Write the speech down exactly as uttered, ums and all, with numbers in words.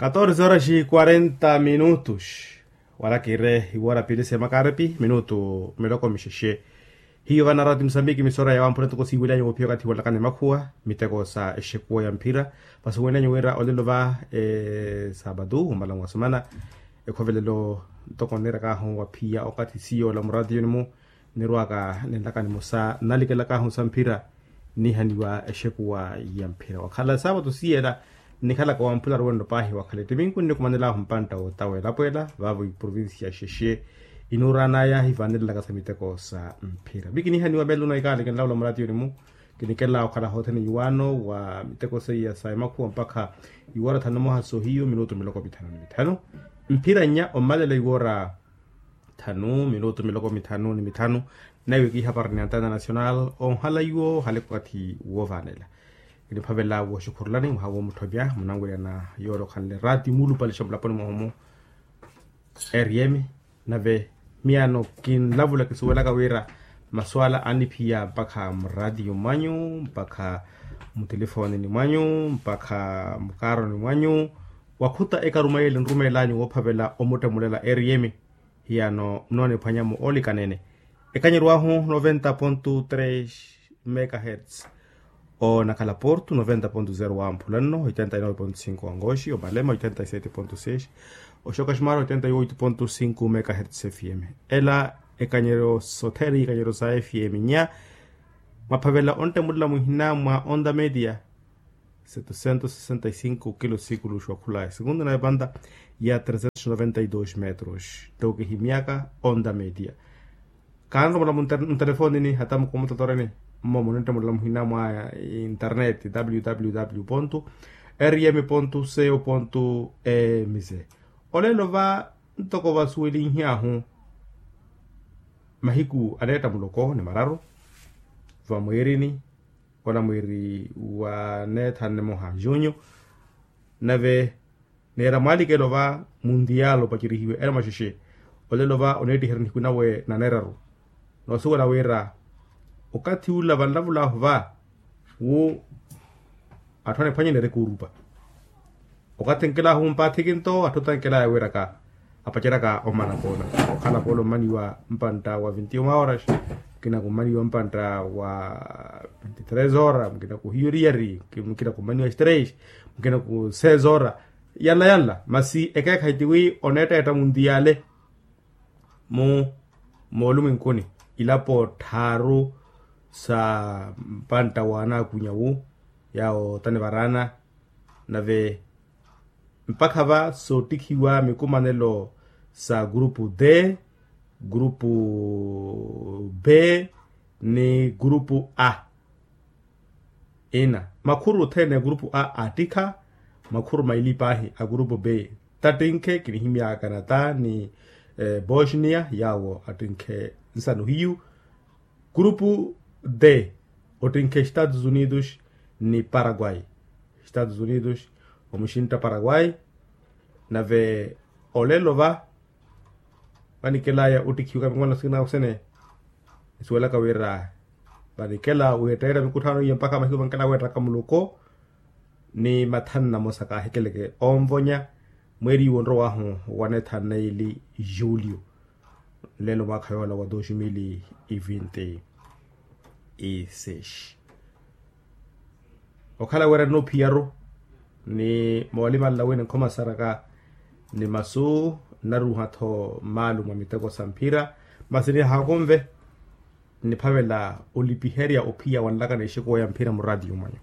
Katorze horas e quarenta minutos. Wala kiire iwoora pili semakarepi minutu miloko mixexe. Hiyo vana rati musambiki misora ya wampura tuko siwilanya wophiya wakathi walakana emakhuwa miteko sa exekuwa ya mphira. Vasi wenanyu wira olelo va esabatu omala mwasimana ekhovelelo ntoko nirakahu waphiya okathi siyo ola muratiyoni mu nirwaka ninlaka nimosa nalikelakahu sa mphira. Nihaniwa exekuwa ya mphira wakhala saapatu siyela nikhalaka wamphula ruwenno paahi wakhala ettiminku nnikumanelahu mpantta wootawa elapo ela vaavo iprovincia xexe inuuranaya hivanelelaka sa miteko sa mphira mikinihaniwa meluna ikaali kinlavula muratiyoni mu kinikela okhala hothene iwaano wa miteko seiya sa emakhuwa mpakha iwoora thanu moha sohiyu minutu miloko mithanu ni mithanu. Mphira nnya ommalela iwoora thanu minutu miloko mithanu ni mithanu. Naiwe kihapari ni antena national onhala iwo hale okathi wovanela kiniphavela woxukhurulani mwaha womutthopya munanwelya na yoole okhanle rati mulupalisha mulaponi mwahomu. Rm nave miyano kinlavula kisuwelaka wira maswala aniphiya mpakha muratiyo mwanyu mpakha mutelefonini mwanyu mpakha mukaroni mwanyu wakhuta ekarumayeli nrumeelanyu woophavela omuttemulela rm. Hiyano mnooniphwanyamu oolikanene ekanyerwahu noventa pontu tres megahertz. Onakhala portu noventa pontu zero wa mphulanno oitenta y nove pontu cinco wa ngoxi omalema oitenta y sete pontu seis oxokaximara oitenta y oito pontu cinco megahertz fm. Ela ekanyeryo sothene ikanyeryo sa fm nya mwaphavela onttemulela muhina mwa onda media setecentos sessenta y cinco kilo sikuluxu wakhula esekundu na epanta ya trecentos noventa y dos metros. Tokihimyaka onda media kanromola muntelefonini hata mukomutotoreni mmo muninttemulela muhina mwa internet www rm co mz. Olelo va ntoko vasuwelinhyahu mahiku aneetta muloko ni mararu vamwiirini ola mwiiri wa neetha nimoha junyu nave neera mwalikelo va mundial opacerihiwe ela maxexe. Olelo va oneettiherya nihiku nawe na neeraru noosuwela wira okathi ula vanlavulahu va wu atthu anephwanye neereke orupa okathi nkelahu mpaathikinto atthu tankelaya wiraka apaceraka omana poola okhala poola omaniwa mpantta wa vinti uma horas mukina kummaniwa mpantta wa vinti tres hora mukina kuhiyo riyari mukina kummaniwa stress mukina ku seis hora yanla yanla masi ekeekhayi tiwi oneetteetta muntiyale mu moolumwenkuni ilapo tthaaru sa mpantta wa anaakunya wu yaawo tanivaraana nave mpakha va soottikhiwa mikumanelo sa grupu d grupu b ni grupu a ina makhuru othene a grupu a attikha makhuru maili paahi a grupu b tattinkhe kinihimyaka canada ni bosnia yaawo attinkhe nsano hiyu grupu d ottinkhe estados unidos ni paraguay estados unidos omuxintta paraguay nave olelo va vanikelaya ottikhiwaka mikomanelo sikina osene nisuwelaka wira vanikela witteerya mikutthaano iye mpakha mahiku vankela weettaka muloko ni mathanu namosa kaahikeleke onvonya mweeri iwo onrowahu wa neetha neili julio nlelo mwaakha yoola wa dos mil e vinti y seis okhala wira nnoophiyaru ni moolimanla wina nkhomasaraka ni masu nnaruuha-tho mmaalu mwa miteko sa mphira masi nihaakonve nniphavela olipiherya ophiya wanlaka n'exekuwa ya mphira muraatiyo mwanyu